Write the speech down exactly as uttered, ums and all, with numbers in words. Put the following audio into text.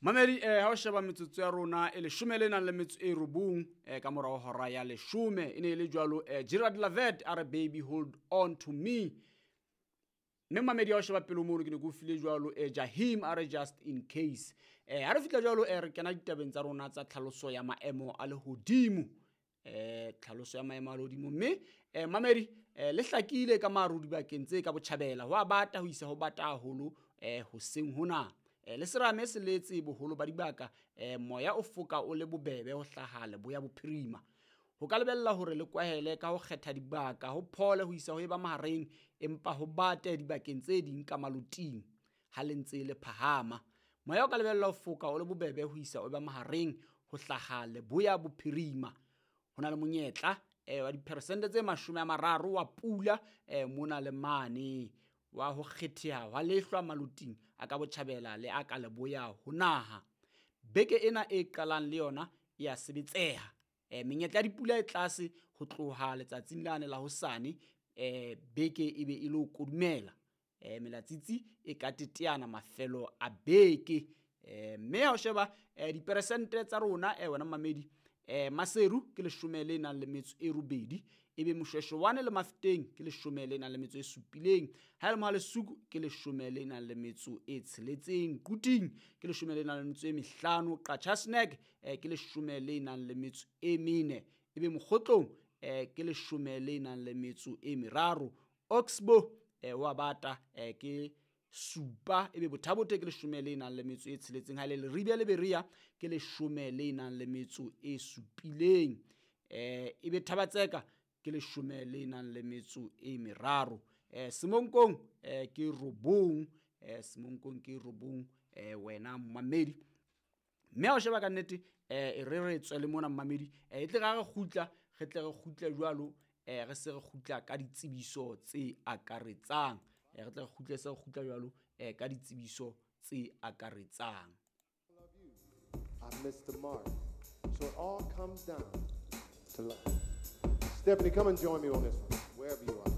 Mamedi, eh ha o sheba metsotso ya rona e leshome le nang le metso e robong eh ka morao hora ya leshome, e ne e le jwalo eh Gerard Lavet a re "Baby Hold On To Me". Mme mamedi, ha o sheba pele mono, ke ne ke o file jwalo eh Jahim a re "Just In Case". eh ha re fihla jwalo, eh re kena ditabeng tsa rona tsa tlhaloso ya maemo a lehodimo, eh tlhaloso ya maemo a lehodimo. Mme eh mamedi, eh le hlakile ka maru dibakeng tse ka botjhabela, ho a bata ho isa ho bata haholo eh hoseng hona. Eh, le serame se letse boholo ba dibaka, eh moya o foka o le bobebe ho hlaha leboya bophirima. Ho ka lebella hore le kwahele ka ho kgetha dibaka, ho phole ho isa ho eba mahareng, empa ho bate dibakeng tse ding ka maloting ha le ntse le phahama. Moya o ka lebella ho foka o le bobebe ho isa o ba mahareng ho hlaha leboya bophirima. Ho na le monyetla eh, wa diperesente tse mashome a mararo wa pula eh, mona le mane, wa ho kgetheha hwa lehlwa maloting a ka botjhabela le a ka leboya ho naha. Beke ena e qalang le yona e a sebetseha. E, menyetla ya dipula e tlase ho tloha letsatsing lane la hosane, e, beke e be e lo kodumela. E, melatsitsi e ka teteana mafelo a beke. E, mme ha o sheba e, diperesente tsa rona, e, wena mamedi, e, Maseru ke leshome le nang le metso e robedi, ebe Moshweshwane le Mafeteng ke leshome le nang le metso e supileng, ha e le Mohalesuku ke leshome le nang le metso e tsheletseng, Quthing ke leshome le nang le metso e mehlano, Qacha's Nek eh, ke leshome le nang le metso e mene, ebe Mokgotlong eh, ke leshome le nang le metso e meraro, Oxbow eh, wa bata eh, ke supa, ebe Bothabote ke leshome le nang le metso e tsheletseng, ha e le Leribe le Berea ke leshome le nang le metso e supileng, eh, ebe Thabatseka ke leshome le nang le metso e meraro, eh, Semonkong eh, ke robong, eh, Semonkong ke robong, eh, wena mmamedi. Mme ha o sheba ka nnete, eh, e re re tswe le mona mmamedi, eh, e tle ra re kgutla, re tle re kgutle jwalo, eh, re se re kgutla ka ditsebiso tse akaretsang, eh, re tle re kgutle se re kgutla jwalo, eh, ka ditsebiso tse akaretsang. Love you. I missed the mark. So it all comes down to love. Stephanie, come and join me on this one, wherever you are.